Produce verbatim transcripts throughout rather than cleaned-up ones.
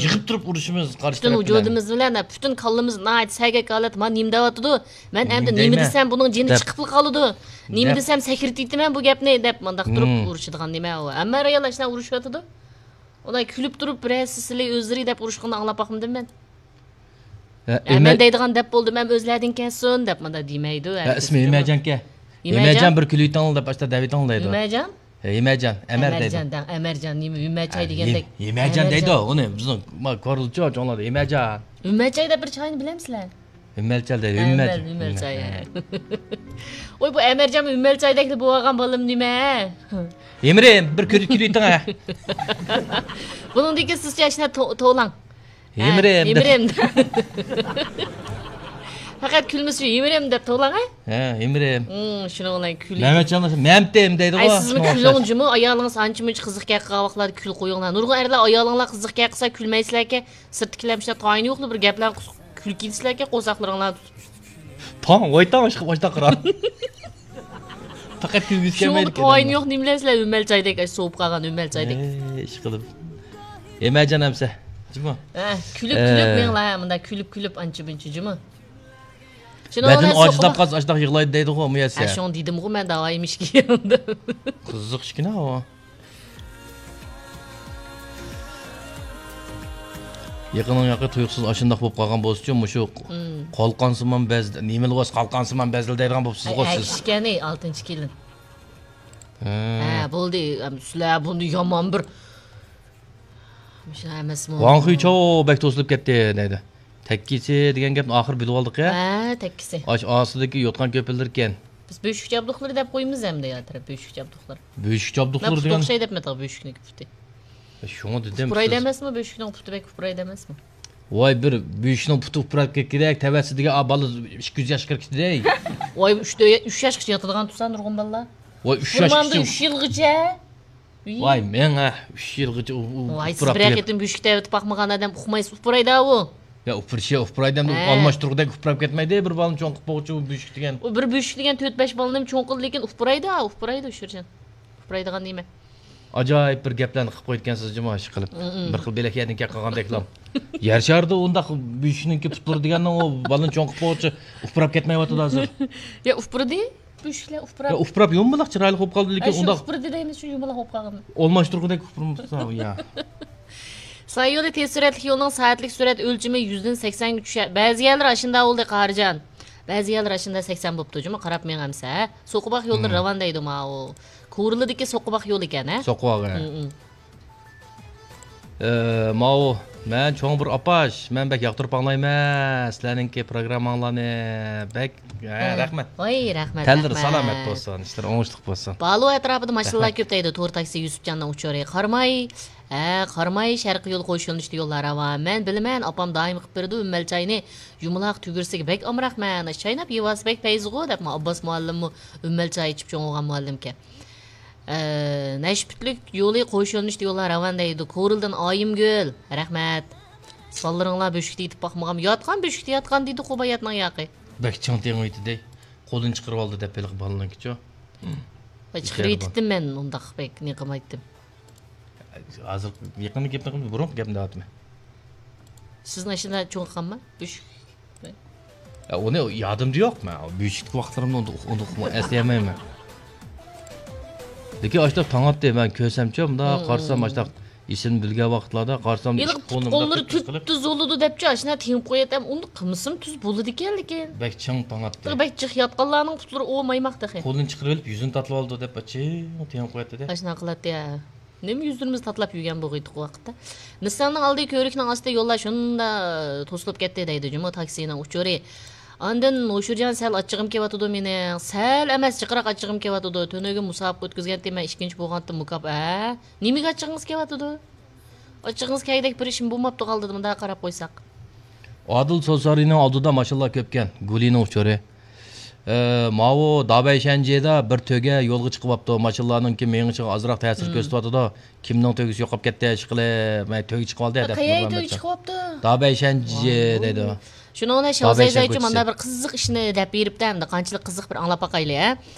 يىغىپ تۇرۇپ ئۇرۇشىمىز قارشى پۈتۈن تەرەپ بىلەن. ۋۇجۇدىمىز بىلەن، پۈتۈن كاللىمىز ناھايىتى سەگەك ھالەتتە، مانا نېمە دەۋاتىدۇ؟ مەن ئېمدى نېمە دېسەم، بۇنىڭ جېنى چىقىپلا قالىدۇ. نېمە دېسەم، سەكرىتىۋېتىمەن بۇ گەپنى دەپ، مۇنداق تۇرۇپ ئۇرۇشىدىغان نېمە ئۇ؟ ھەممە ئاياللار شۇنداق ئۇرۇشۇۋاتىدۇ. ئۇلار كۈلۈپ تۇرۇپ، بىرەرسى سىلى ئۆزلىرى دەپ ئۇرۇشقىنىنى ئاڭلاپ باقمىدىم مەن. ھە، ھە، مەن دەيدىغان دەپ بولدۇم، ھەم ئۆزلەردىن كەلسۇن دەپ مۇنداق دېمەيدۇ. ھە، ئىسمى ھىمەجانكەن. ھىمەجان، بىر كۈلۈۋېتىڭلار دەپ ئاشتا دەۋېتىڭلار دەيدۇ. ھىمەجان؟ ھە، ھىمەجان، ئەمەر دەيدۇ. ئەمەرجان دەڭ، ئەمەرجان، نېمە ھىمەچاي دېگەندەك. ھىمەجان دەيدۇ، ئۇنى بىزنىڭ ما كورلىچۇ چوڭلاردا ھىمەجان. ھىمەچاي دەپ بىر چاينى بىلەمسىلەر؟ ھىمەلچال دەيدۇ، ھىمەل. ھىمەلچاي. ۋوي، بۇ ئەمەرجان ھىمەلچايدەكلا بولغان بالىم نېمە؟ ھىمرىم، بىر كۈلۈۋېتىڭ ھە. بۇنىڭدىن كېيىن سىزچە ئاشۇنداق تو-، توۋلاڭ. ھىمرىم دەپ. ھىمرىم. پەقەت كۈلمىسە شۇ ھىمرىم دەپ توۋلاڭ ھە. ھە، ھىمرىم. شۇنىڭ بىلەن كۈلۈڭ. مەمەتجان، مەمتىم دەيدىغۇ. ئەي، سىزمۇ كۈلۈڭ جۇمۇ، ئايالىڭىز ئانچە مۇنچە قىزىق گەپ قىلغان ۋاقىتلاردا كۈلۈپ قويۇڭلار. نۇرغۇن ئەرلەر ئايالىڭلار قىزىق گەپ قىلسا كۈلمەيسىلەركەن، سىرتتىكىلەر مۇشۇنداق تايىنى يوقلا بىر گەپلەرنى قۇسۇق كۈلۈپ كېتىسىلەركەن قورساقلىرىڭلارنى تۇتۇپ. تاڭ، ۋاي تاڭ، ئىشقىلىپ ئاشۇنداق قارا. پەقەت كۈلگۈسى كەلمەيدىكەن. شۇڭا تايىنى يوق نېمىلەر سىلەر ھىمەلچايدەك، ئاشۇ سوۋۇپ قالغان ھىمەلچايدەك. ئەي، ئىشقىلىپ. ھىمەجان ئەمسە. جۇمۇ. ھە، كۈلۈپ كۈلۈپ مېڭىڭلار ھە، مۇنداق كۈلۈپ كۈلۈپ ئانچە مۇنچە جۇمۇ. بەدىنى ئاجىزلاپ قالسا ئاشۇنداق يىغلايدۇ دەيدىغۇ مۇيەسسە. ھە، شۇڭا دېدىمغۇ مەن داۋايىم ئىشكى. قىزىق ئىشكىنە ئۇ. يېقىننىڭ ياقى تۇيۇقسىز ئاشۇنداق بولۇپ قالغان بولسىچۇ، مۇشۇ قالقانسىمان بەزلە، نېمىلا بولسا قالقانسىمان بەزلە دەيدىغان بوپسىزغۇ سىز. ئەكىشكەنى ئالتىنچى كېلىن. ھە، بولدى. سىلەر بۇنى يامان بىر مۇشۇ ئەمەسمۇ؟ ۋاڭ خۇيچو بەك توسۇلۇپ كەتتى دەيدۇ. تەككىسى دېگەن گەپنى ئاخىر بىلىۋالدۇق يا. ھە، تەككىسى. ئاش ئاستىدىكى يوتقان كۆپۈلدۈركەن. بىز بۆشۈكچە ئابدۇقلىرى دەپ قويىمىز ئەمدى يا تەرەپ بۆشۈكچە ئابدۇقلار. بۆشۈكچە ئابدۇقلىرى دېگەن. مەن پۇتى ئوخشاي دەپمەتىغۇ بۆشۈكنىڭكى پۇتى. شۇڭا دېدىم. ئۇپرايدۇ ئەمەسمۇ بۆشۈكنىڭ پۇتى بەك ئۇپرايدۇ ئەمەسمۇ؟ ۋاي بىر بۆشۈكنىڭ پۇتى ئۇپراپ كەتكۈدەك تەۋەسىدىكى بالا ئىككى يۈز ياشقا كىرىپتىدەي. ۋاي ئۈچ ياشقىچە ياتىدىغان تۇرسا نۇرغۇن بالىلار. ۋاي ئۈچ ياشقىچە. ئۈچ يىلغىچە. ۋاي مېڭە ئۈچ يىلغىچە ئۇ، ئۇ، ۋاي، سىز بىرەر قېتىم بۆشۈكتە ئەۋېتىپ باقمىغان ئادەم ئۇقمايسىز، ئۇپرايدۇ ئۇ. يا ئۇپرىشى، ئۇپرايدۇ ئەمدى ئالماشتۇرغۇدەك ئۇپراپ كەتمەيدۇ، بىر بالىنى چوڭ قىلىپ بولغۇچە ئۇ بۆشۈك دېگەن. ئۇ بىر بۆشۈك دېگەن تۆت بەش بالىنىمۇ چوڭ قىلدى، لېكىن ئۇپرايدۇ، ئۇپرايدۇ شۇرجان. ئۇپرايدىغان نېمە؟ ئاجايىپ بىر گەپلەرنى قىلىپ قويىدىكەنسىز جۇمۇ، ئىشقىلىپ. بىر خىل بۆلەك يەردىن كەپ قالغاندەكلا. يەر شارىدا ئۇنداق بۆشۈكنىڭكى پۇتلىرى دېگەننىڭ ئۇ بالىنى چوڭ قىلىپ بولغۇچە ئۇپراپ كەتمەيۋاتىدۇ ھازىر. يا ئۇپرىدى. بۆشۈكلەر ئۇپراپ. يا ئۇپراپ يۇمىلاق چىرايلىق بولۇپ قالدى، لېكىن ئۇنداق ئۇپرىدى دەيمىز شۇ يۇمىلاق بولۇپ قالغان. ئالماشتۇرغۇدەك ئۇپرىمىسا، يا. ساي يولى تېز سۈرئەتلىك يولنىڭ سائەتلىك سۈرئەت ئۆلچىمى يۈزدىن سەكسەنگە چۈشە-، بەزى يەرلەر ئاشۇنداق بولدى، قاھارجان. بەزى يەرلەر ئاشۇنداق سەكسەن بوپتۇ، جۇمۇ قاراپ مېڭەمسە، ھە؟ سوقىباق يوللىرى راۋان دەيدۇ ماۋۇ. كورلىدىكى سوقىباق يولى ئىكەن، ھە؟ سوقىباق، ھە. ئە، ماۋۇ، مەن چوڭ بىر ئاپاش، مەن بەك ياقتۇرۇپ ئاڭلايمەن سىلەرنىڭكى پروگرامماڭلارنى. بەك، ھە، رەھمەت. ۋاي، رەھمەت، تەنلىرى سالامەت بولسۇن، ئىشلىرى ئوڭۇشلۇق بولسۇن. بالۇ ئەتراپىدا ماشىنىلار كۆپ دەيدۇ، تور تاكسى يۈسۈپجاننىڭ ئۇچۇرى. قاراماي، ھە، قاراماي، شەرقىي يول قوش يۆنىلىشتە يوللار راۋان. مەن بىلىمەن، ئاپام دائىم قىلىپ بېرىدۇ، ئۈممەل چاينى يۇمىلاق تۈگۈرسىگە بەك ئامراقمەن. چايناپ يېۋالسا بەك پەيزىغۇ، دەپمۇ ئابباس مۇئەللىممۇ ئۈممەل چاي ئىچىپ چوڭ بولغان مۇئەللىمكەن. ئە، نەشپۈتلۈك يولى قوش يۆنىلىشتە يوللار راۋان دەيدۇ. كورلىدىن ئايىمگۈل. رەھمەت. سانلىرىڭلار بۆشۈكتە يېتىپ باقمىغان. ياتقان بۆشۈكتە ياتقان دېدىقۇ باياتنىڭ ياقى. بەك چىڭ تېڭىۋېتىدەي. قولىنى چىقىرىۋالدى دەپ ھېلىقى بالىنىڭكىچۇ. ۋاي، چىقىرىۋېتىتتىم مەن ئۇنداق بەك نېقىمايتتىم. ھازىر يېقىندا گەپنى قىلمىدىم، بۇرۇنقى گەپنى دەۋاتىمەن. سىزنىڭ ئاشۇنداق چوڭ قىلغانما؟ بۆشۈك. يا، ئۇنى يادىمدا يوق مەن. بۆشۈكتىكى ۋاقىتلىرىمنى ئۇنداق، ئۇنداق ئەسلىيەلمەيمەن. لېكىن ئاشۇنداق تاڭاتتى، مەن كۆرسەمچۇ، مۇنداق قارىسام، ئاشۇنداق ئېسىمنى بىلگەن ۋاقىتلاردا قارىسام، ھېلىقى پۇت قوللىرى تۈپتۈز بولىدۇ دەپچۇ، ئاشۇنداق تېڭىپ قوياتتىم. ئۇنداق قىلمىسىمۇ تۈز بولىدىكەن، لېكىن. بەك چىڭ تاڭاتتى. بەك جىق ياتقانلارنىڭ پۇتلىرى ئومايماق تېخى. قولىنى چىقىرىۋېلىپ يۈزىنى تارتىۋالىدۇ دەپ چىڭ تېڭىپ قوياتتى-دە. ئاشۇنداق قىلاتتى، ھە. نېمە يۈزلىرىمىزنى تاتىلاپ يۈرگەن بولغىيتتۇق ئۇ ۋاقىتتا. نىسساننىڭ ئالدى كۆۋرۈكنىڭ ئاستى يوللار شۇنداق توسۇلۇپ كەتتى دەيدۇ جۇمۇ تاكسىنىڭ ئۇچۇرى. ئاندىن ھوشۇرجان سەل ئاچچىقىم كېلىۋاتىدۇ مېنىڭ. سەل ئەمەس، جىقراق ئاچچىقىم كېلىۋاتىدۇ. تۈنۈگۈن مۇسابىقە ئۆتكۈزگەنتىم مەن ئىككىنچى بولغانتىم مۇكاپ-، ھە؟ نېمىگە ئاچچىقىڭىز كېلىۋاتىدۇ؟ ئاچچىقىڭىز كەلگۈدەك بىر ئىشمۇ بولماپتۇ غالدىدا مۇنداق قاراپ قويساق. ئادىل سوسارىنىڭ ئالدىدا ماشىنىلار كۆپكەن. گۇلىنىڭ ئۇچۇرى. ئە، ماۋۇ دابەيشەنجيېدا بىر تۆگە يولغا چىقىۋاپتۇ. ماشىنىلارنىڭكى مېڭىشىغا ئازراق تەسىر كۆرسىتىۋاتىدۇ. كىمنىڭ تۆگىسى يوقاپ كەتتى، ئىشقىلىپ، مەن تۆگە چىقىۋالدى دەپ. قەيەر تۆگە چىقىۋاپتۇ؟ دابەيشەنجيې دەيدۇ. شۇنىڭ بىلەن شاۋزەي زايچۇ مانا بىر قىزىق ئىشنى دەپ بېرىپتۇ، ئەمدى قانچىلىك قىزىق بىر ئاڭلاپ باقايلى، ھە.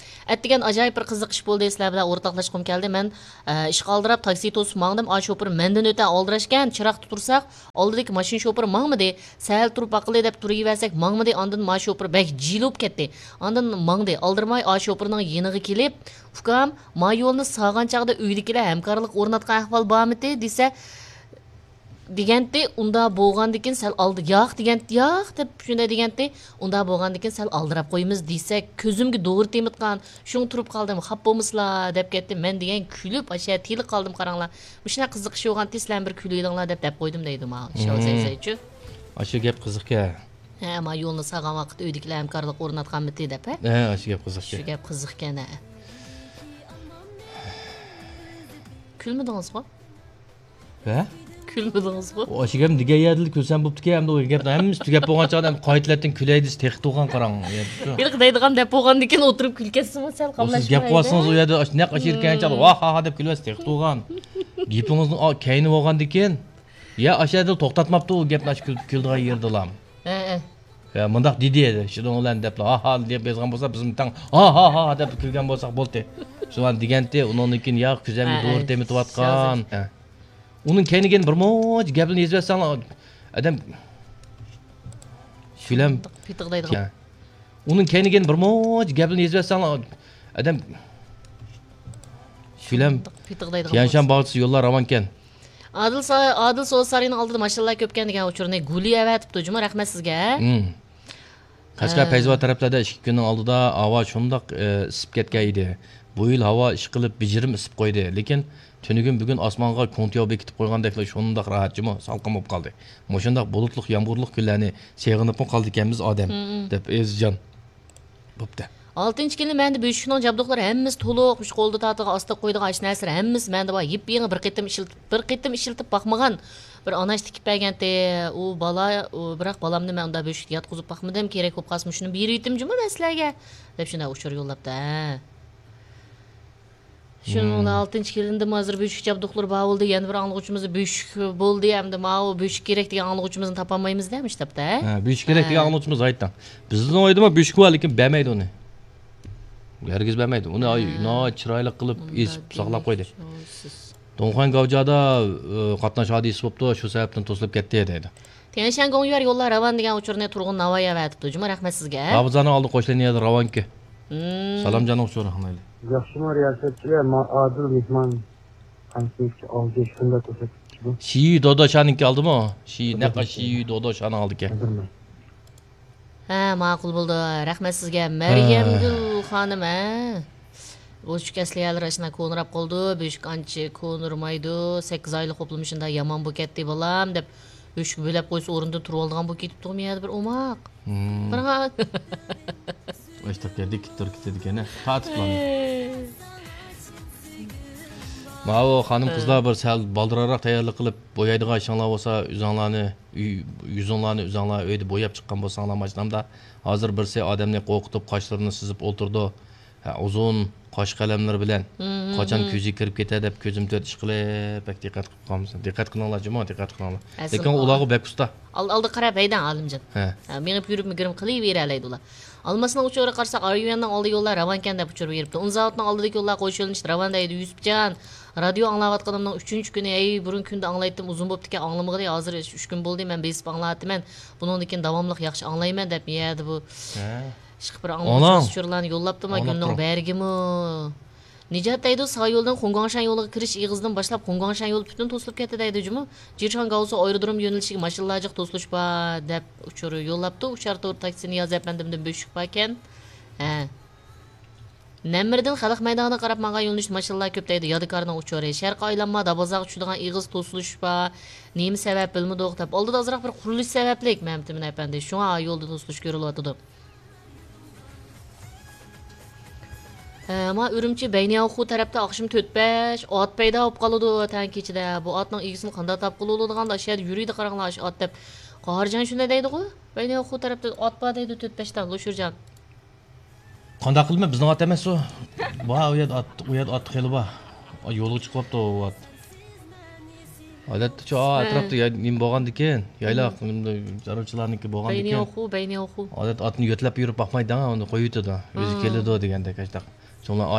ئەتىگەن ئاجايىپ بىر قىزىق ئىش بولدى، سىلەر بىلەن ئورتاقلاشقۇم كەلدى. مەن، ئە، ئىشقا ئالدىراپ تاكسى توسۇپ ماڭدىم. ئا شوپۇر مەندىن ئۆتە ئالدىراشكەن، چىراغدا تۇرساق، ئالدىدىكى ماشىنا شوپۇرى ماڭمىدى. سەل تۇرۇپ باقىلى دەپ تۇرۇۋەرسەك، ماڭمىدى. ئاندىن ما شوپۇر بەك جىلى بولۇپ كەتتى. ئاندىن ماڭدى. ئالدىرىماي ئا شوپۇرنىڭ يېنىغا كېلىپ، ئۇكام، ما يولنى سالغان چاغدا ئۆيدىكىلەر ھەمكارلىق ئورناتقان ئەھۋال بارمىتى؟ دېسە، دېگەنتى، ئۇنداق بولغاندىكىن سەل ئالدى، ياق دېگەنتى، ياق دەپ شۇنداق دېگەنتى، ئۇنداق بولغاندىكىن سەل ئالدىراپ قويىمىز دېسەك، كۆزۈمگە دورا تېمىتقان، شۇڭا تۇرۇپ قالدىم، خاپا بولمىسىلا دەپ كەتتى. مەن دېگەن كۈلۈپ، ئاشۇ تىلىپ قالدىم، قاراڭلار. مۇشۇنداق قىزىق ئىش بولغانتى، سىلەر بىر كۈلۈۋېلىڭلار دەپ دەپ قويدۇم دەيدۇ ماڭا. شاۋ زەيزەيچۇ. ئاشۇ گەپ قىزىقكەن. ھە، ما يولنى سالغان ۋاقىت ئۆيدىكىلەر ھەمكارلىق ئورناتقانمىتى دەپ، ھە؟ ھە، ئاشۇ گەپ قىزىقكەن. شۇ گەپ قىزىقكەن، ھە. كۈلمىدىڭىزغۇ؟ ھە؟ كۈلمىدىڭىزغۇ؟ ئاشۇ گەپنى دېگەن يەردىلا كۈلسەم بوپتىكەن، ئەمدى ئۇ گەپنىڭ ھەممىسى تۈگەپ بولغان چاغدا ئمدى قايتىلەتتىن كۈلەي دېسە تېخى تۇغان قاراڭ. ھېلىقى دەيدىغان دەپ بولغاندىكىن ئولتۇرۇپ كۈلكەتسىمۇ سەل قاملاشمايدۇ. سىز گەپ قىلىۋاتسىڭىز ئۇ يەردە ئاشۇ نەق ئاشۇ يەرگە كەلگەن چاغدا ۋاھ ھا ھا دەپ كۈلۈۋەتسە تېخى تۇغان. گېپىڭىزنى كەينىۋالغاندىكىن، يا ئاشۇ يەردىلا توختاتماپتۇ ئۇ گەپنى ئاشۇ كۈل-، كۈلىدىغان يېرىدىلا. ھە، ھە. يا مۇنداق دېدى، شۇنىڭ بىلەن دەپلا ھا ھا دەپ يازغان بولسا، بىزمۇ تەڭ ھا ھا ھا دەپ كۈلگەن بولساق بولدى. شۇلارنى دېگەنتى، ئۇنىڭدىن كېيىن يا كۆزەمگە ھە، دورا ھە. تېمىتىۋاتقان. ھە. ئۇنىڭ كەينىگە بىر مۇنچە گەپلەرنى يېزىۋەتسەڭلار، ئادەم كۈلەم. پىتىق دەيدىغان. ھە. ئۇنىڭ كەينىگە بىر مۇنچە گەپلەرنى يېزىۋەتسەڭلار، ئادەم كۈلەم. پىتىق دەيدىغان. تيەنشان باغچىسى يوللار راۋانكەن. ئادىل سا-، ئادىل سودا سارىيىنىڭ ئالدىدا ماشىنىلار كۆپكەن دېگەن ئۇچۇرنى گۇلى ئەۋەتىپتۇ جۇمۇ، رەھمەت سىزگە. مم. قەشقەر ھە. پەيزىۋات تەرەپلەردە ئىككى كۈننىڭ ئالدىدا ھاۋا شۇنداق، ئە، ئىسسىپ كەتكەن ئىدى. بۇ يىل ھاۋا ئىشقىلىپ بېجىرىم ئىسسىپ قويدى. لېكىن تۈنۈگۈن بۈگۈن ئاسمانغا كۇڭتياۋ بېكىتىپ قويغاندەكلا شۇنداق راھەت جۇمۇ، سالقىن بولۇپ قالدى. مۇشۇنداق بۇلۇتلۇق يامغۇرلۇق كۈنلەرنى سېغىنىپمۇ قالدىكەنمىز ئادەم، مم. دەپ ئېزىزجان. بوپتۇ. ئالتىنچى كېلىن مەندە بۆشۈكنىڭ جابدۇقلىرى ھەممىسى تولۇق، مۇشۇ قولدا تارتىدىغان، ئاستا قويىدىغان ئاشۇ نەرسىلەر ھەممىسى مەندە بار. يېپيېڭى بىر قېتىم ئىشلىتىپ، بىر قېتىم ئىشلىتىپ باقمىغان بىر ئاناش تىكىپ بەرگەنتى. ئۇ بالا، ئۇ، بىراق بالامنى مەن ئۇنداق بۆشۈكتە ياتقۇزۇپ باقمىدىم. كېرەك بولۇپ قالسا مۇشۇنى بېرىۋېتىم جۇمۇ مەن سىلەرگە، دەپ شۇنداق ئۇچۇر يوللاپتۇ. ھە. شۇنىڭ بىلەن مم. ئالتىنچى كېلىندىمۇ ھازىر بۆشۈك جابدۇقلىرى بار بولدى. يەنە بىر ئاڭلىغۇچىمىز بۆشۈك بولدى. ئەمدى ماۋۇ بۆشۈك كېرەك دېگەن ئاڭلىغۇچىمىزنى تاپالمايمىز-دە، مۇشۇ تاپتا، ھە؟ ھە، بۆشۈك كېرەك ھە. دېگەن ئاڭلىغۇچىمىز ھايتاڭ. بىزنىڭ ئۆيدىمۇ بۆشۈك بار، لېكىن بەرمەيدۇ ئۇنى. ھەرگىز بەرمەيدۇ. ئۇنى ھە. ناھايىتى چىرايلىق قىلىپ ئېسىپ ساقلاپ قويدى. دېمەكچى، سىز. دونخۇەن گاۋجادا، ئە، قاتناش ھادىسىسى بوپتۇ، شۇ سەۋەبتىن توسۇلۇپ كەتتى، دەيدۇ. تيەنشان گوڭيۈەر يوللار راۋان دېگەن ئۇچۇرنى تۇرغۇن ناۋاي ئەۋەتىپتۇ جۇمۇ، رەھمەت سىزگە. بابىزانىڭ ئالدى قوش لىنىيەدە راۋانكى. مم. سالام جانلىق ئۇچۇر ئاڭلايلى. ياخشىمۇ رىياسەتچىلەر، ما ئادىل مېھمان قانىتىمىزچە ئالدى شۇنداق كۆرسەتكۈچىدۇ. شىيۈ دوداشانىڭكى ئالدىمۇ؟ شىيۈ، نەق شىيۈ دوداشانىڭ ئالدىكەن. ھەزىرمۇ. ھە، ماقۇل بولدى. رەھمەت سىزگە. مەريەمگۈل خانىم، ھە. بۆشۈك ئەسلىھەلىرى ئاشۇنداق كونىراپ قالدى. بۆشۈك ئانچە كونىرىمايدۇ. سەككىز ئايلىق خوپلىما شۇنداق يامان بولۇپ كەتتى، بالام، دەپ بۆشۈكنى بۆلەپ قويسا ئورنىدىن تۇرۇۋالىدىغان بولۇپ كېتىپتىغۇ مۇ يەردە بىر ئوماق. مم. قارا. ئاشتاق يەردە كېتىپ تۇرۇپ كېتىدىكەن، ھە. تارتىپلارنى. ماۋۇ خانىم قىزلار بىر سەل بالدۇرراق تەييارلىق قىلىپ، بويايدىغان ئىشىڭلار بولسا، ئۆزۈڭلارنى، ئۆي-، يۈزۈڭلارنى ئۆزۈڭلار ئۆيدە بوياپ چىققان بولساڭلار ماشىنامدا. ھازىر بىرسى ئادەمنى قورقۇتۇپ، قاشلىرىنى سىزىپ ئولتۇرىدۇ. ھە، ئۇزۇن قاش قەلەملىرى بىلەن. مم، قاچان مم. كۆزى كىرىپ كېتە دەپ كۆزۈم تۆت ئىش قىلىپ، بەك دىققەت قىلىپ قالمىسۇن. دىققەت قىلىڭلار جۇمۇ، دىققەت قىلىڭلار. لېكىن ئۇلارغۇ بەك ئۇستا. ئال-، ئالدىغا قاراپ ھەيدەڭ، ئالىمجان. ھە. ھە، مېڭىپ يۈرۈپمۇ گىرىم قىلىۋېرەلەيدۇ ئۇلار. ئالماسنىڭ ئۇچۇرى قارىساق، ئاريۇەننىڭ ئالدى يوللار راۋانكەن دەپ ئۇچۇر بېرىپتۇ. ئۇن زاۋۇتنىڭ ئالدىدىكى يوللار قوش يۆنىلىشتە راۋان دەيدۇ يۈسۈپجان. رادىيو ئاڭلاۋاتقىنىمنىڭ ئۈچىنچى كۈنى، ھەي، بۇرۇن كۈندە ئاڭلايتتىم، ئۇزۇن بوپتىكەن، ئاڭلىمىغىلى، ھازىر ئۈچ كۈن بولدى، مەن بېسىپ ئاڭلاۋاتىمەن. بۇنىڭدىن كېيىن داۋاملىق ياخشى ئاڭلايمەن دەپ يەردە بۇ ھە. ئىشقىلىپ بىر ئاڭلىغۇچىمىز ئۇچۇرلارنى يوللاپتۇ، ما، گۈلنىڭ بەرگىمۇ. نىجات دەيدۇ، سايولدىن خۇڭگاڭشەن يولىغا كىرىش ئېغىزىدىن باشلاپ خۇڭگاڭشەن يولى پۈتۈن توسۇلۇپ كەتتى دەيدۇ جۇمۇ. جىرشان گاۋسۇ ئايرودروم يۆنىلىشىگە ماشىنىلار جىق توسۇلۇش بار دەپ ئۇچۇر يوللاپتۇ. ئۇچار تور تاكسىنى ياز ئەپەندىمدىن بۆشۈك باركەن. ھە. نەممىرىدىن خەلق مەيدانىغا قاراپ ماڭغان يۆنىلىشتە ماشىنىلار كۆپ دەيدۇ. يادىكارنىڭ ئۇچۇرى. شەرقىي ئايلانما دابازاغا چۈشىدىغان ئېغىز توسۇلۇش بار. نېمە سەۋەب بىلمىدۇق دەپ. ئالدىدا ئازراق بىر قۇرۇلۇش سەۋەبلىك مەمتىمىن ئەپەندى. شۇڭا يولدا توسۇلۇش كۆرۈلۈۋاتىدۇ. ھە، ما ئۈرۈمچى بەينىياۋخۇ تەرەپتە ئاخشىمى تۆت بەش ئات پەيدا بولۇپ قالىدۇ تەڭ كېچىدە. بۇ ئاتنىڭ ئىگىسىنى قانداق تاپقىلى بولىدىغاندۇ؟ ئاشۇ يەردە يۈرىدۇ قاراڭلار ئاشۇ ئات دەپ. قاھارجان شۇنداق دەيدىغۇ؟ بەينىياۋخۇ تەرەپتە ئات بار دەيدۇ، تۆت بەشتە، لوشۇرجان. قانداق قىلىمەن، بىزنىڭ ئات ئەمەس ئۇ. بار، ئۇ يەردە ئات، ئۇ يەردە ئات خېلى بار. يولغا چىقىۋاپتۇ ئۇ ئات. ئادەتتە شۇ ئەتراپتا يا-، نېمە بولغاندىكىن، يايلاق، نېمە، چارۋىچىلارنىڭكى بولغاندىكىن. بەينىياۋخۇ، بەينىياۋخۇ. ئادەتتە ئاتنى يۆتلەپ يۈرۈپ باقمايدۇ، ئۇنى قويۇۋېتىدۇ. ئۆزى كېلىدۇ دېگەندەك، ئاشۇنداق. چوڭلار